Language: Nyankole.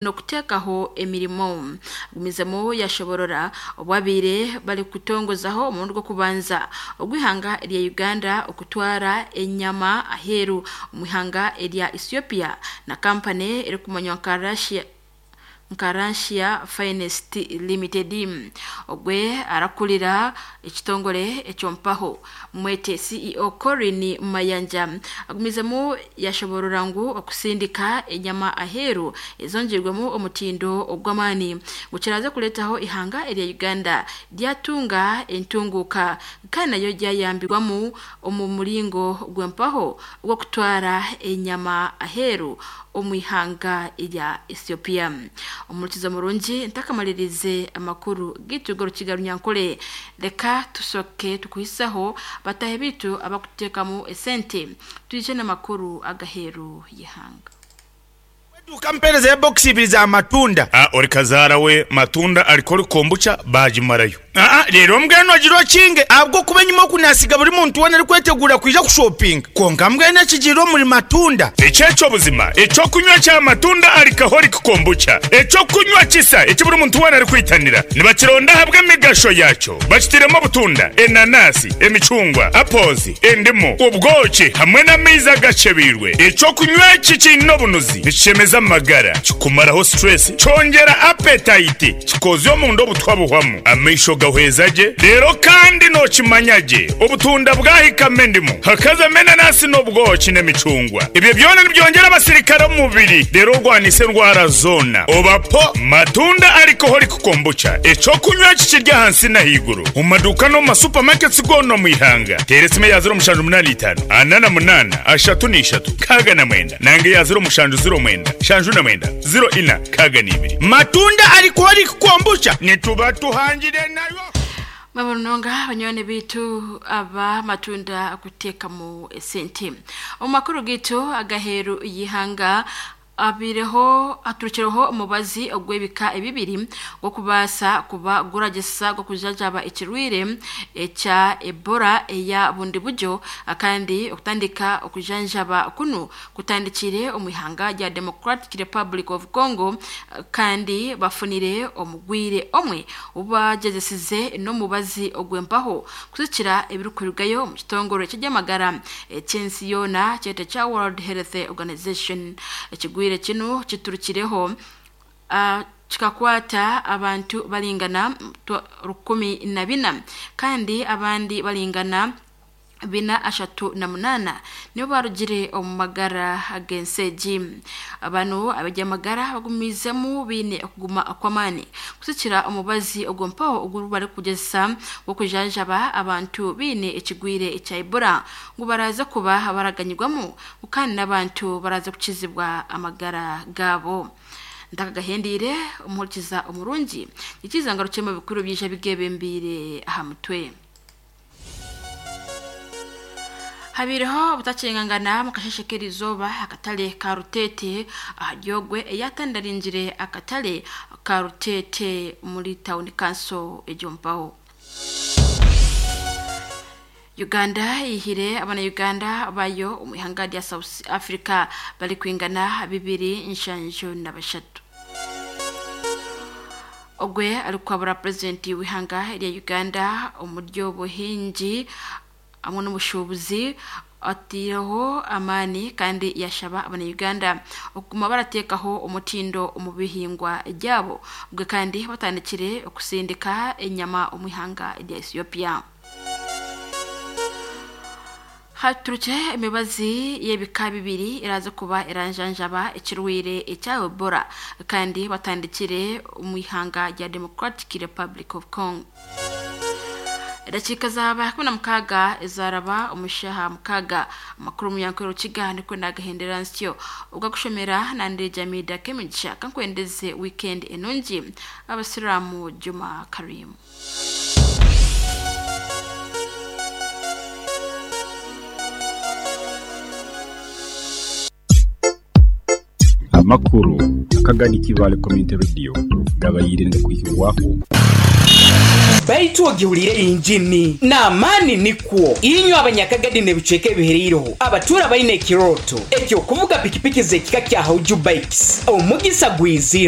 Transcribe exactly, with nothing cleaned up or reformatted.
N'okuteekaho emirimo gumizemu yashoborora obwabaire bari kutongozaho omurundi gw'okubanza ogw'ihanga erya Uganda okutwara enyama aheeru omu ihanga erya Ethiopia na kampani erikumanywa nka Russia nka Russia Finest Limited ogwe arakurira ekitongore ekyompaho mwete C E O Colin Mayanja agumizemu yashoborora ngu okusindika enyama aheeru ezongyerwemu omutindo ogw'amaani gukiraze kureetaho ihanga erya Uganda ryatunga entunguuka kandi nayo ryayambirwamu omu muringo gw'empaho ogw'okutwara enyama aheeru omu ihanga erya Ethiopia. Omurikizo murungi ntakamalirize amakuru gitu g'orukiga runyankole reka tusoke tukuhisaho batahe bitu abakuteekamu esente twije n'amakuru agaheeru y'ihanga. Kampereza ebokisi ibiri za matunda. Ah, ori kazaara we matunda ariko ori kombucha bagimarayo. Ah, rero mbwenu agira okinge ahabwo kuba enyuma okunasiga buri muntu wena arikwetegura kwija kushopinga konka mbwenu ekigiire omuri matunda. Ekyekyo buzima ekyokunywa kya matunda alcoholic kombucha ekyokunywa kisa eki buri muntu wena arikwitanira nibakironda ahabwa emigasho yakyo bakitiremu obutunda, enanasi, emicungwa, apples, endimu, obwoki hamwe n'amaizi agacebiirwe. Ekyokunywa eki kiine obunuzi, nikishemeza amagara, kikumaraho stress, kyongera appetite, kikozya omunda obutwa buhwamu, amaisho gahweza gye. Rero kandi nokimanya gye obutunda bwahikamo endimu hakazamo enanasi n'obwoki n'emicungwa, ebyo byona nibyongera abasirikare omu mubiri, rero orwanisa endwara zoona. Obapo matunda alcoholic kombucha ekyokunywa kikirya ahansi n'ahaiguru omu maduuka n'omu masupamaketi goona omu ihanga. Teera esimu eya ziro mushanju munaana itaano ana na munaana ashatu n'ishatu nkaaga na mwenda nange eya ziro mushanju ziro mwenda shanju na mwenda ziro ina nkaaga n'ibiri. Matunda alcoholic kombucha nituba tuhangire nayo. Mabononga banywani bitu aba matunda akuteekamu esente omu makuru gitu agaheeru y'ihanga abireho aturukireho omubazi ogw'ebika ebibiri gw'okubaasa kuba guragisa gw'okujajaba ekirwire ekya Ebola eya bundi buryo, kandi okutandika okujanjaba kunu kutandikire omu ihanga rya Democratic Republic of Congo, kandi bafunire omugwire omwe obubagyezesize n'omubazi ogw'empaho kuzikira ebirikurugayo omu kitongore ky'ebyamagara eky'ensi yoona kyete kya World Health Organization. Ekigwire kinu kiturukireho uh, kikakwata abantu balingana rukumi na bina kandi abandi balingana bina ashatu na munana nibo barugire omu magara ag'enseegi. Bano ab'ebyamagara bagumizemu biine okuguma kw'amaani kusikira omubazi ogw'empaho ogu barikugyezesa gw'okujanjaba abantu biine ekigwire ekya Ebola ngu baraza kuba baraganyirwamu kandi n'abantu baraza kukizibwa amagara gaabo. Ntakagahendiire omuhurikiza omurungi nikiza ngarukye mu bikuru byija bigebembiire aha mutwe. Habireho obutakingangana mu kasheshe k'erizooba akatale ka Rutete aharyogwe eyatandaringire akatale ka Rutete muri town council egyompaho. Uganda ihire abana Uganda bayo omu ihanga rya South Africa bari kwingana bibiri nshanju na bashatu. Ogwe arikwabura president w'ihanga rya Uganda omuryo buhingi hamwe n'omushuubuzi atiireho amaani kandi yashaba abanya-Uganda okuguma barateekaho omutindo omu bihingwa byabo ubwe kandi batandikire okusindika enyama omu ihanga rya Ethiopia. Haturukire emibazi y'ebika bibiri eraza kuba eranjanjaba ekirwaire ekya Ebola kandi batandikire omu ihanga rya Democratic Republic of Congo. Edakiika zaba kumi na mukaaga ezaraba omushaha mukaaga amakuru omunyankore Rukiga nikwo nagahendera nsyo ogakushomera nande Jamida Kemigisha kankwendeze weekend enungi abasiramu Juma Karim. Amakuru akagani Kibale Community Radio gabayire kuhibwaho. Baitu ogiwulire injini n'amaani nikwo inywe abanyakagadi n'ebicweka ebihereireho abatura baine ekiroto ekyokuvuga pikipiki z'ekika kya Hauju Bikes omugisa gwizire.